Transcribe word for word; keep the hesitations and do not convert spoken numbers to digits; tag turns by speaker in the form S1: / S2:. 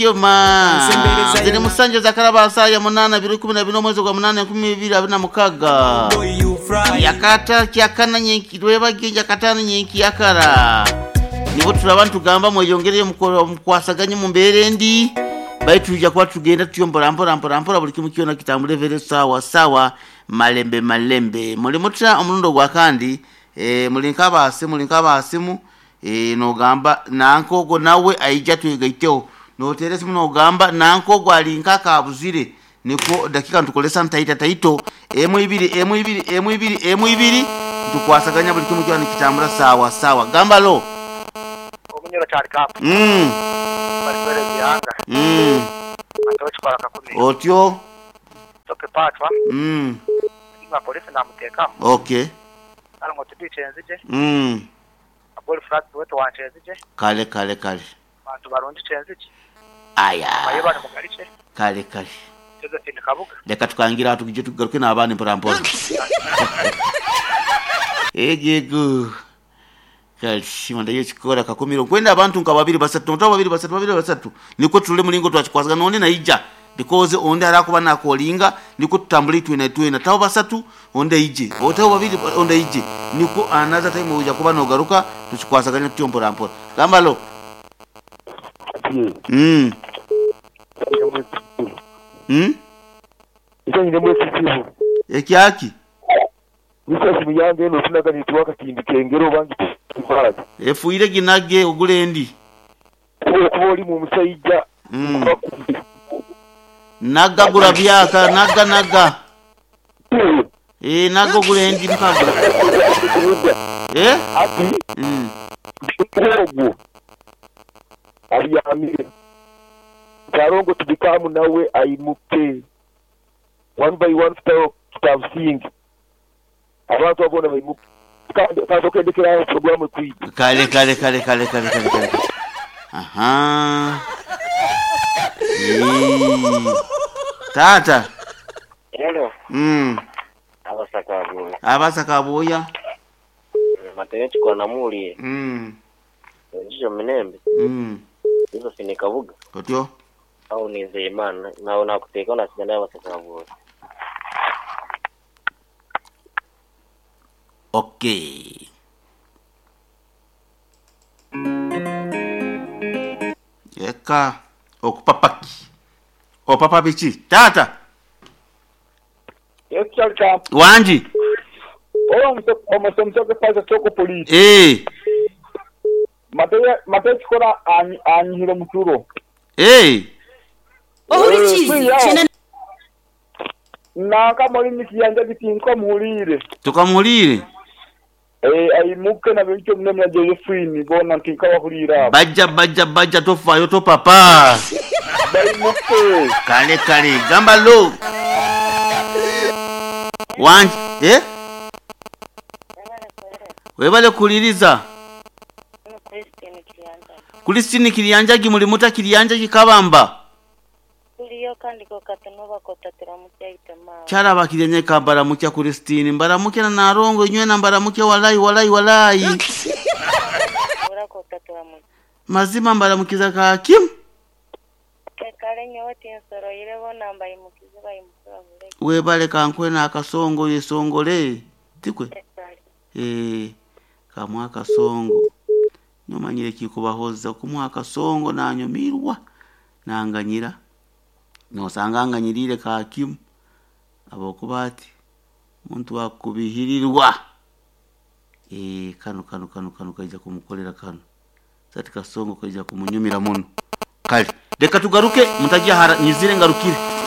S1: kyoma ziri musanje zakaraba saa ya munana bibiri kumi na bine omwezi gwa munana enkumi ibiri abiri na mukaga yakata kyakana nyenki lwebage yakatana nyenki yakara nibo turaba ntugamba mweyongereye mukwasaganye mu mbeere ndi baitu tujja kuba tugenda tutyo mpora mpora mpora mpora buli kimu kyona kitambule vere sawa sawa malembe malembe muli mutya omulundo gwa kandi e, muli nk'abaasimu muli nk'abaasimu e, nogamba nankogo nawe aija twegaiteho noteera esimu nogamba nankogo ali nk'akabuzire niko dakika ntukolesa ntaita taito emu ibiri emu ibiri emu ibiri emu ibiri ntukwasaganya buli kimu kyona nikitambula sawa sawa gamba lo
S2: omunyoro kyali kapu
S1: mm.
S2: balikwere bihanga
S1: mm.
S2: atochikola kakumi
S1: otyo
S2: toke patwa
S1: mm.
S2: nga polisi namuteekamu
S1: okay
S2: kale ngo tubice enzije
S1: mm.
S2: aboli flat wetu wanje enzije
S1: kale kale kale
S2: bantu barungi kyenzije
S1: aya
S2: baye bali mugalice
S1: kale kale
S2: Josephine Kabuga
S1: leka tukangira tugije tugaruke n'abandi mpora mpora egego kale shima ndayo chikora kakumiro kwenda abantu nka babiri basatu nto babiri basatu babiri basatu niko tulule mulingo twachikwasagana nonde naija because onde arakuba nakolinga niko tutambule itwe itwe tawo basatu onde ije otawo babiri onde ije niko anaza time uja kuba nogaruka tuchikwasaganya tutyo mpora mpora gambalo mm mm
S3: Icyanyine mwese kivu
S1: ekyaki
S3: Nisasi muyange eno tunaga nituwaka kimbi kengero bangi tumbaraga
S1: efuire ginage ogule ndi
S3: Kuba kuba oli mu musajja
S1: mm. Naga gula byaka naga naga eh naga ogule ndi mukagula eh
S3: Ati
S1: mm.
S3: ogwo aryamire Karongo tubikamu nawe aimuke one by one style kitabusingi abantu abona baimuke kandi kandi okendekera programu kwiga
S1: kale kale kale kale kale kale kale aha Eh. Tata
S4: Hello,
S1: mm
S4: abasaka
S1: abasaka boya
S4: mateyo chikola namuli
S1: mm
S4: njijo minembe
S1: mm
S4: Josephine Kabuga
S1: otyo
S4: au Nizeyimana nawe nakuteeka nasigana abasaka boya
S1: okay eka okupapaki opapa biki tata
S2: Yes kyali kapu
S1: wanji
S2: oyo omusoke paza soko polisi
S1: eh
S2: mateyo mateyo chikola anyihire muturo
S1: eh
S5: Ohurikizi cyenda
S2: naka muri nikiyanja gitinko muhurire
S1: tukamulire
S2: eh aimuke na bintu mne na Josephine bona ntinka bahurira
S1: bajja bajja bajja tofayo to papa
S2: baimuke
S1: kale kale gamba lo wanji eh webale kuliriza Christine Kilianjagi muri muta Kilianjagi kabamba
S6: Kuliyo kandi ko katunuba kotatira mutya itema
S1: kyaraba kiryenye kambara mutya Christine mbaramuke na narongo inywe na mbaramuke walai walai walai
S6: ura kotatira mutya
S1: mazima mbaramukiza ka kim
S6: kale nyowe tinsoro irebo namba imukize bayimukira bule
S1: webale kankwe na akasongo yesongole tikwe
S6: kale
S1: eh kamwa akasongo nyomanyire kikubahoza kumuha akasongo nanyumirwa nanganyira nosanga nganyirire ka kim abokuba ati muntu wakubihirirwa eh kano kano kano kano kaija kumukolera kano sati kasongo kaija kumunyumira muno kale reka tugaruke mutajya hara nyizire ngarukire.